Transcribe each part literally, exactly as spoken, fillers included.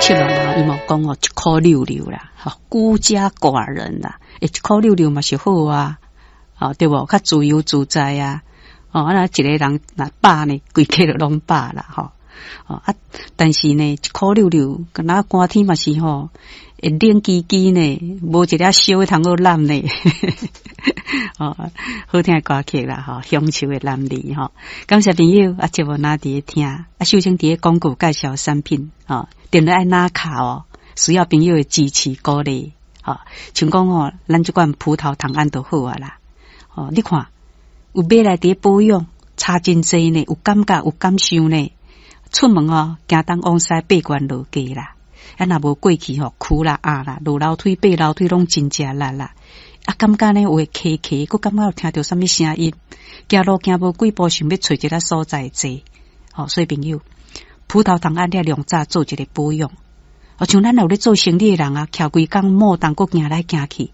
七六人伊嘛講哦，一箍六六啦，吼，孤家寡人啦，欸，一箍六六嘛是好啊，吼，對無？較自由自在啊，哦，啊，一個人若飽呢，規家就攏飽啦，吼，哦啊，但是呢，一箍六六，敢若寒天嘛是吼，會冷吱吱呢，無一粒燒通好攬呢，哦，好聽的歌曲啦，吼，鄉愁的男兒吼，感謝朋友啊，節目若佇咧聽，啊，秀清佇咧廣告介紹產品，吼，電話愛拿卡哦，需要朋友的支持鼓勵，吼，像講吼，咱這款葡萄糖胺就好啊啦，哦，你看有買來佇咧保養，差真濟呢，有感覺有感受呢，出門哦，行東往西爬懸落低啦。啊，若無過去吼，跍啦、壓啦、落樓梯、爬樓梯攏真食力啦。啊，感覺呢有會卡卡，閣感覺有聽著啥物聲音，行路行無幾步，想欲揣一个所在坐。吼，所以朋友，葡萄糖胺了量早做一个保養。哦，像咱有咧做生意的人啊，徛規工莫當閣行來行去，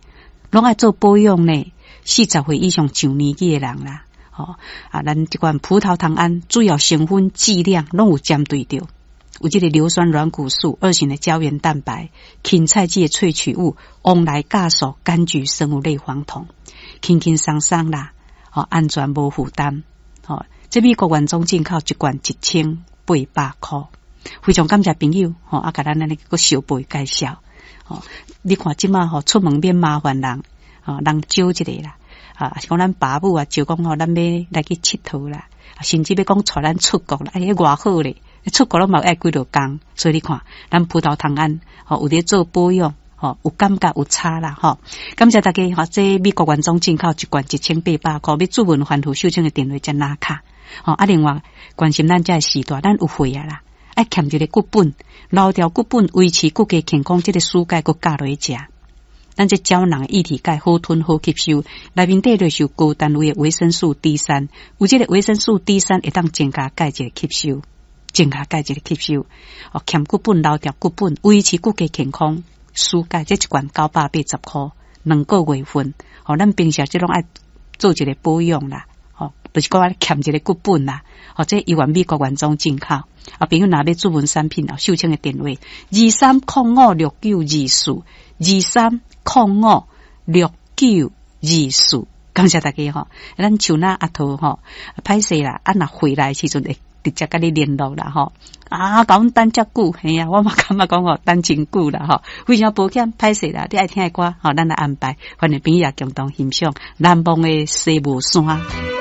攏愛做保養呢。四十歲以上上年紀的人啦，吼啊，咱這款葡萄糖胺主要成分劑量攏有針對著。有這个硫酸軟骨素、二型的膠原蛋白、芹菜籽的萃取物、黃來酵素、柑橘生物類黃酮，輕輕鬆鬆啦，吼，安全無負擔，吼，這美國原裝進口一罐一千八百箍，非常感謝朋友，吼，啊，共咱按呢閣相報介紹，吼，你看這馬吼出門免麻煩人，吼，人招一个啦，啊，是講咱爸母啊，招講吼，咱欲來去𨑨迌啦，甚至欲講帶咱出國啦，哎，偌好咧！出國攏嘛愛幾落工，所以你看，咱葡萄糖胺吼有咧做保養，吼有感覺有差啦，吼。感謝大家，吼，這美國原裝進口一罐一千八百箍，欲注文還付秀清的電話才拿卡，吼啊，另外關心咱這个時代，咱有歲啊啦，愛欠一个骨本，留掉骨本，維持骨骼健康，這个舒鈣閣加落去食。咱這膠囊液體鈣好吞好吸收，內面底就是有高單位的維生素 D 三，有這个維生素 D 三會當增加鈣質的吸收。增加鈣質的吸收，哦，欠骨本留掉骨本，維持骨骼健康。舒鈣這一罐九百八十箍，兩個月份。哦，咱平時這攏愛做一个保養啦，吼，就是講愛欠一个骨本啦。或者猶原美國原裝進口。啊，朋友若欲注文產品哦，秀清的電話二三空五六九二四二三空五六九二四，感謝大家吼。咱像那阿桃吼，歹勢啦，啊若回來時陣會直接佮你聯絡啦吼。啊，共阮等遮久，嘿啊，我嘛感覺講吼，等真久啦吼，非常抱歉，歹勢啦，你愛聽的歌吼，咱來安排，歡迎朋友共同欣賞難忘的西帽山。